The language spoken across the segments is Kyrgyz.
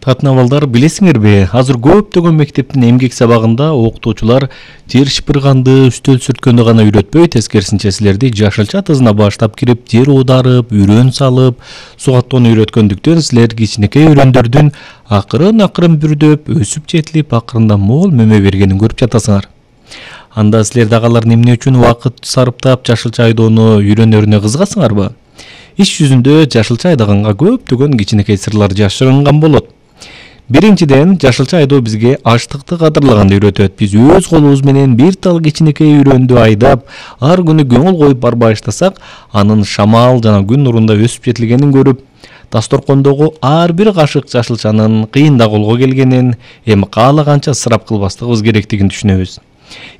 Татына балдар, билесиңерби, азыр көптөгөн мектептин эмгек сабагында окутуучулар жер шыпырганды, үстөл сүрткөндү гана үйрөтпөй, тескерисинче силерди жашылча тызына баштап кирип, жер оодарып, үрөн салып, суу каттоону үйрөткөндүктөн силер кичинекей үрөндөрдүн акырын бүрдөп, өсүп жетилип, акырында мол мөмө бергенин көрүп жатасыңар. Анда силер дагалар эмне үчүн убакыт сарптап жашылча айдоону үйрөнөрүнө кызыгасыңарбы? Иш жүзүндө жашылча айдаганга көптөгөн кичинекей сырлар жашырынган болот. Биринчиден, жашылча айдоо бизге ачтыкты кадырлаганды үйрөтөт. Биз өз колубуз менен бир тал кичинекей үрөндү айдап, ар күнү көңүл коюп барбай баштасак, анын шамал жана күн нурунда өсүп жетилгенин көрүп, дасторкондогу ар бир кашык жашылчанын кыйында колго келгенин, эми каалаганча ысырап кылбастыгыбыз керектигин түшүнөбүз.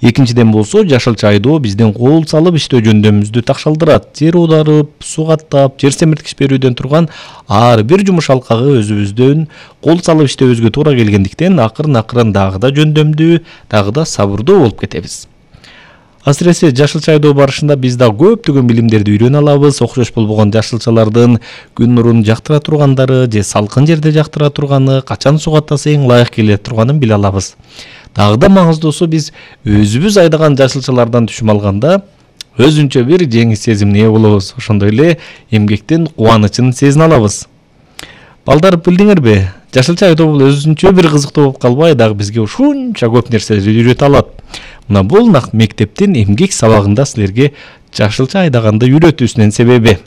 Экинчиден болсо, жашылча айдоо биздин кол салып иштөө жөндөмүбүздү такшалдырат. Жер оодарып, суу каттап, жер семирткич берүүдөн турган ар бир жумуш алкагы өзүбүздөн кол салып иштөөбүзгө туура келгендиктен акырын дагы да жөндөмдүү, дагы да сабырдуу болуп кетебиз. Асыресе жашылча айдоо барышында биз да көптөгөн билимдерди үйрөнө алабыз. Окшош болбогон жашылчалардын күн нурун жактыра тургандары же салкын жерде жактыра турганы, качан суу каттаса эң ылайык келе турганын биле алабыз. Дагы да маңыздуусу, биз өзүбүз айдаган жашылчалардан түшүм алганда өзүнчө бир жеңиш сезимине ээ болобуз. Ошондой эле эмгектин кубанычын сезине алабыз. Балдар, билдиңерби? Жашылча айдоо бул өзүнчө бир кызыктуу болуп калбай, дагы бизге ушунча көп нерселерди үйрөтө алат. Мына бул мектептин эмгек сабагында силерге жашылча айдаганды үйрөтүүсүнүн себеби.